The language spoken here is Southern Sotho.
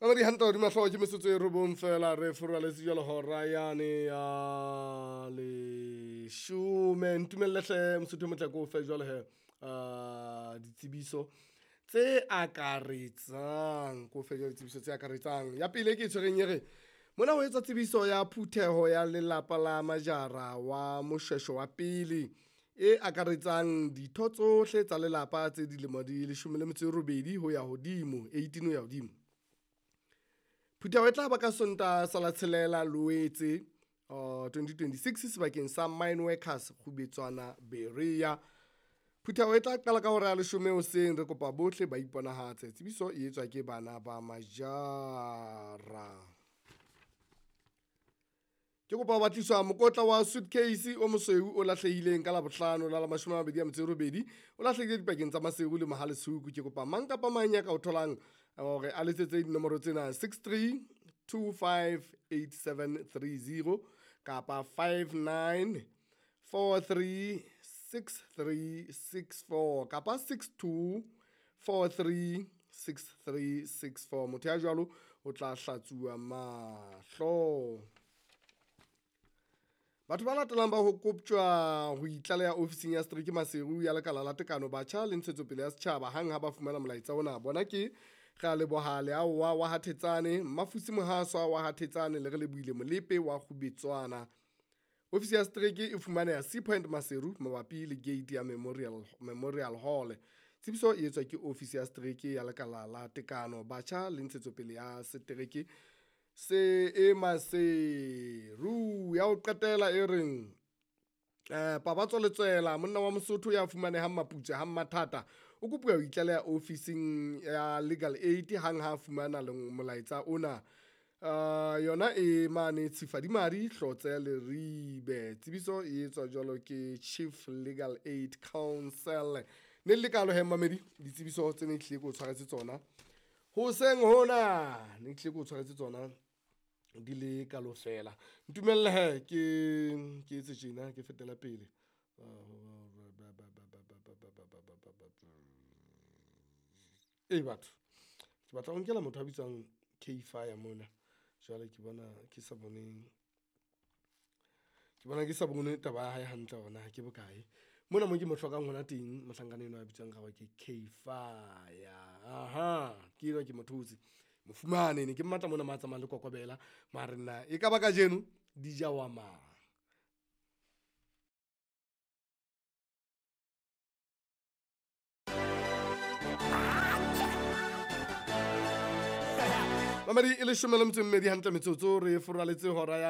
Mamedi hantle hodima hlooho ke metsotso e robong feela re foraletse jwalo hora yane ya leshome. Ntumelle hle Mosotho e motle ke o fe jwale he ditsebiso tse akaretsang, ke o fe jwale ditsebiso tse akaretsang. Ya pele e ke e tshwereng e re, mona ho etswa tsebiso ya phutheho ya lelapa la Majara wa Moshweshwe wa pele e akaretsang ditho tsohle tsa lelapa tse dilemo di 18 ho ya hodimo, 18 ho ya hodimo. Phutheho e tla ba ka Sontaha sa la tshelela Loetse 2026 sebakeng sa Mine Workers Kgubetswana Berea. Phutheho e tla qala ka hora ya leshome hoseng, re kopa bohle ba iponahatse. Tsebiso e etswa ke bana ba Majara. Ke kopa ho batliswa mokotla wa suitcase o mosweu o lahlehileng ka Labohlano la la 28, o lahlehile dipakeng tsa Maseru le Mohale'shoek. Ke kopa mang kapa mang ya ka o tholang hore a letsetse dinomoro tsena 63258730 kapa 59436364 kapa 62436364. Motho ya jwalo o tla hlatsuwa mahlo. Batho ba latelang ba ho koptjwa ho itlaleha ofising ya setereke Maseru ya Lekala la Tekano Batjha le Ntshetsopele ya Setjhaba hang ha ba fumana molaetsa ona. Bona ke re a leboha Leaowa wa Hathetsane, Mmafusi Mohaswa wa Hathetsane le re lebohile Molepe wa Kgubetswana. Ofisi ya setereke e fumaneha Sea Point Maseru mabapi le gate ya Memorial Hall. Tsebiso e etswa ke ofisi ya setereke ya Lekala la Tekano Batjha le Ntshetsopele ya Setereke se e Maseru. Ya ho qetela e reng Pabatso Letswela, monna wa Mosotho ya fumanehang Maputswe ha Mmathata, o kopuwa ho itlaleha ofising ya Legal Aid hang ha fumana molaetsa ona. Yona e mane Tshifadimadi Hlotse Leribe. Tsebiso e etswa jwalo ke Chief Legal Aid Council. Ne le kalo he mamedi ditsebiso tse ne tlile ke o tshwaretse tsona hoseng hona, ne tlile ke o tshwaretse tsona di le kalo fela. Ntumelle he ke etse tjena ke fetela pele. E batho ke batla ho nkela motho a bitswang K Fire mona. Jwale ke bona ke sa bone, ke bona ke sa bone taba ya hae hantle hore na ke bokae. Mona mo ke mo hlokang hona teng mohlankana enwa a bitswang ka hore ke K Fire. Aha, ke enwa ke mo thotse. Mo fumane ne ke mmatla mona ma tsamayang le kokobela mare nna e ka ba kajeno di ja wa mang. Mamedi e 12 hantle metsotso re foraletse hora ya